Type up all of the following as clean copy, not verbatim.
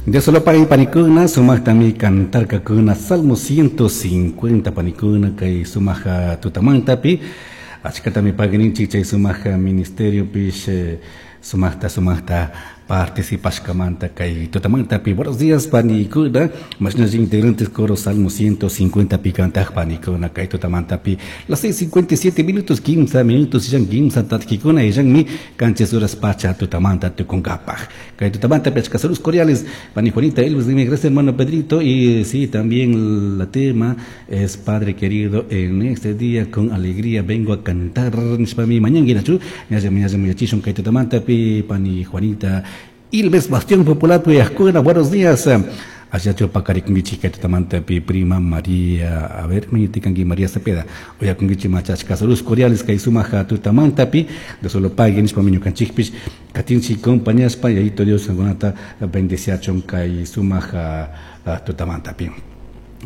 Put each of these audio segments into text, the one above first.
Dios panikuna sumaqtami cantarkakuna Salmo 150 panikuna kay sumaq tutamantapi achkatami pagninchik chay sumaq ministeriopish sumaqta sumaqta participashkamanta kay tutamantapi. Buenos días panikuna, mashnalla integrantes coro Salmo 150 pi kantaq panikuna kay tutamantapi. Las 6:57 minutos, 15 minutos illan kimsa tatkikuna illanmi qanchis horas pacha tutamanta tukunkapaq. Kay tutamanta achka saludos cordiales pani Juanita Elvis, dime gracias hermano Pedrito. Y sí, también la tema es Padre querido, en este día con alegría vengo a cantar nishpami mañanguinachu ñalla ñalla yachishun kay tutamantapi pani Juanita Ilves Bastión Popular Puyascuna. Buenos días. Allá pacarikungichi kay tutamantapi prima María, a ver, mañitikanki María Cepeda. Oyakungichi machachka saludos cordiales kay sumaja tutamantapi de solo paguen nishpami ñukanchikpish katinchi compañaspa yayito Dios kankunata bendeciachun kay sumaja tutamantapi.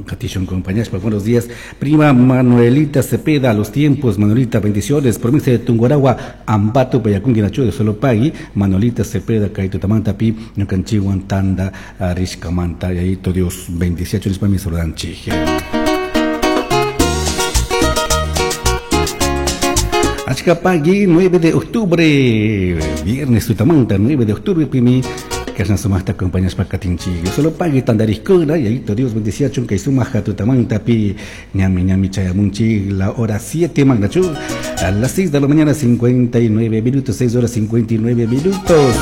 Katishun compañaspa, buenos días. Prima Manuelita Cepeda, a los tiempos, Manuelita, bendiciones. Provincia de Tungurahua, Ambato, Payakungi, Nacho de Solopagui, Manuelita Cepeda, kay tutamantapi, ñukanchiwan tanda, rishkamanta, yayito Dios, bendiciachun nishpami saludanchik. Achkapagui, 9 de octubre, viernes tutamanta, 9 de octubre, pimi, kashna sumaqta acompañashpa katinchik. Solo pagui tandariskuna, yayito Dios bendiciachun kay sumaja tutamanta pi, ñami ñami chayamunchik, la hora 7 magnachu, a las 6 de la mañana 59 minutos, 6 horas 59 minutos.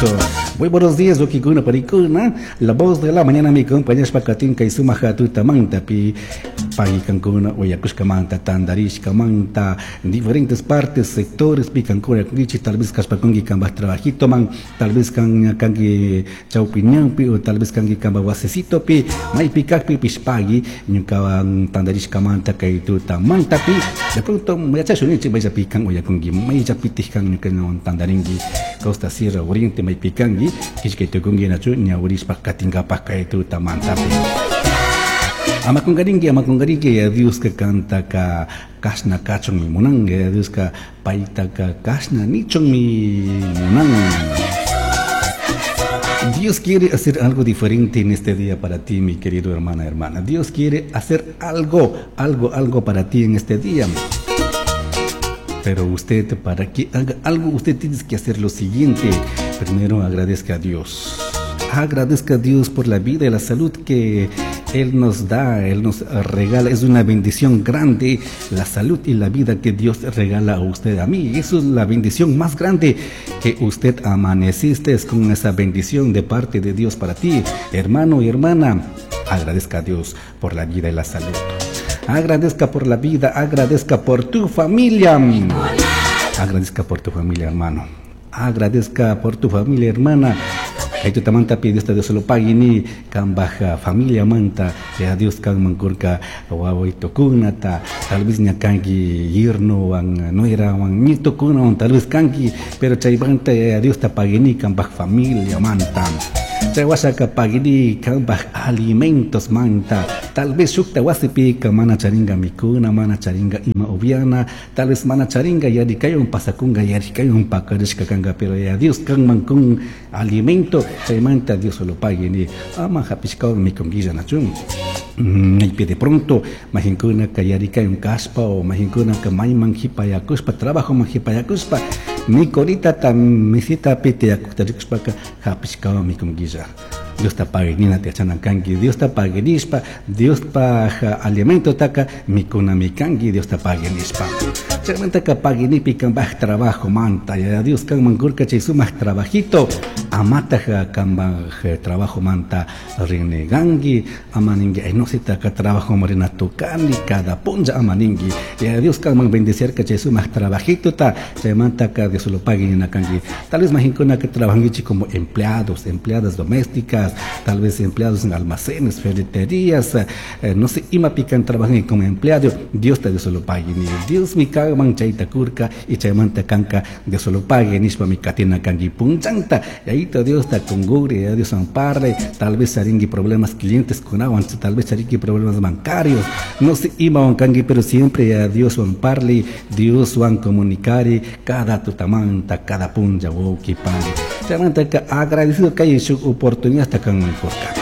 Muy buenos días, okikuna parikuna, la voz de la mañana mi acompañashpa katin kay sumaja tutamanta pi, pagui kankuna, oyakushkamanta, tandarishkamanta, en diferentes partes, sectores, pi kankuna, kungichi, tal vez kashpakungi kambaj trabajito man, tal vez kan kangi chawpiñanpi o tal vez kangi kamba wasecitopi, maypi kakpi pishpagui, ñukawan tandarishkamanta kay tutamantapi, de pronto yachashunichik mayllapi kan oyakungi, mayllapitij kan ñukawan tandaringi, Costa Sierra Oriente maypi kangi, kishkay tukungi nachu ñawirishpa katinkapak kay tutamantapi. Amakungaringi, amakungaringi, ya Dios que canta ka kashna kachun mi munan, ya Dios ka paita ka kashna nichun mi munan. Dios quiere hacer algo diferente en este día para ti, mi querido hermana, hermana. Dios quiere hacer algo, algo, algo para ti en este día. Pero usted, para que haga algo, usted tiene que hacer lo siguiente. Primero, agradezca a Dios. Agradezca a Dios por la vida y la salud que Él nos da, Él nos regala. Es una bendición grande la salud y la vida que Dios regala a usted, a mí. Eso es la bendición más grande, que usted amaneciste con esa bendición de parte de Dios para ti. Hermano y hermana, agradezca a Dios por la vida y la salud. Agradezca por la vida, agradezca por tu familia. Agradezca por tu familia, hermano. Agradezca por tu familia, hermana. Kay tutamanta pi Dios Dios lo pagini kambaja familia manta ya Dios kan mankurka wawaytukunata tal vez ña kanki yerno wan nuera wan nietukuna wan tal vez kanki, pero chaymanta ya Dios ta pagini kambaj familia manta. Chay wasaka pagini kambaj alimentos manta, tal vez shukta wasipi ka mana charinga mikuna, mana charinga ima ubiana, tal vez mana charinga yarikayun pasakunga, yarikayun pakarishka kanga, pero ya Dios kan mankun alimento, chaymanta Dios lo pagini ama hapishkawan mikunguilla nachun. Maypi de pronto majinkuna ka yarikayun kaspa o majinkuna ka mayman hipayakuspa, trabajo man hipayakuspa, mikorita ta mesita pite yakuktarikuspaka hapishkawan mikunguilla. Dios ta paginina te achanan kanki, Dios ta paginispa, Dios pa alimento taka mikuna mikanki, Dios ta paginispa. Chaymanta ka paginipi kambaj trabajo manta, ya Dios kan mankurka chay sumaj trabajito, amataja kambaj trabajo manta renegangi, amaningi, ay no se taka trabajo morena tukani, cada punja amaningi, ya Dios kan man bendecir ka chay sumaj trabajito ta, chaymanta ka Dios lo paginina kanki. Tal vez majinkuna que trabajangichi como empleados, empleadas domésticas, tal vez empleados en almacenes, ferreterías, no sé, ima pican trabajan como empleado, Dios te Dios lo pague, ni Dios mi caga man chayta kurka y chaymanta kanka Dios lo pague, nishpa mi katina kangi punchanta, y ahí te Dios ta congure, ya Dios amparle, tal vez haringi problemas clientes con agua, tal vez haringi problemas bancarios, no sé, ima kangi, pero siempre ya Dios amparle, Dios van comunicare cada tutamanta, cada punja, woki pan. Chaymanta ka agradecido que hay su oportunidad hasta kan mankurka.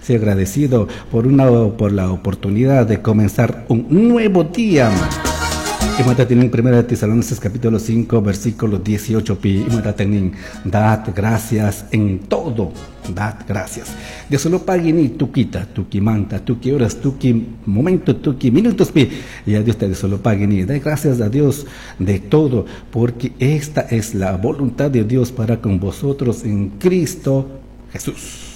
Sea agradecido por la oportunidad de comenzar un nuevo día. Imata tinin Primera de Tesalonicenses capítulo 5 versículo 18 pi imata tinin dad gracias en todo, dad gracias. Dios solo pagui ni tukita, tuki manta, tuki horas, tuki momento, tuki minutos pi. Y a Dios te solo pagui ni. Da gracias a Dios de todo, porque esta es la voluntad de Dios para con vosotros en Cristo Jesús.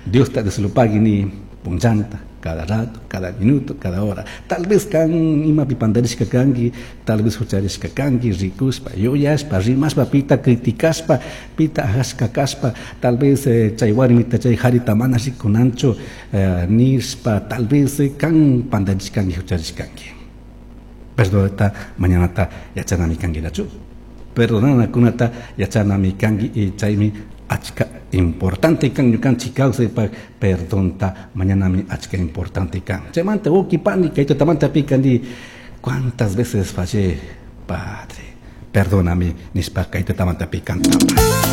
Dios te solo pagui ni punchanta, cada rato, cada minuto, cada hora. Tal vez kan imapi pandarishka kanki, tal vez hucharishka kanki, rikushpa, yuyashpa, rimashpa, pita criticashpa, pita ajashka kashpa, tal vez chay warmita, chay harita mana rikunanchu, nishpa, tal vez kan pandarishkanki, hucharishkanki. Perdonata, mañanata yachanami kankilachu. Perdonanakunata yachanami kanki y chaymi achka importante kan ñukanchik kawsaypak perdonta mañanami achka importante kan. Chaymanta uki pani kay tutamanta pikani cuántas veces fallé, Padre, perdóname nishpa kay tutamanta pikantapa.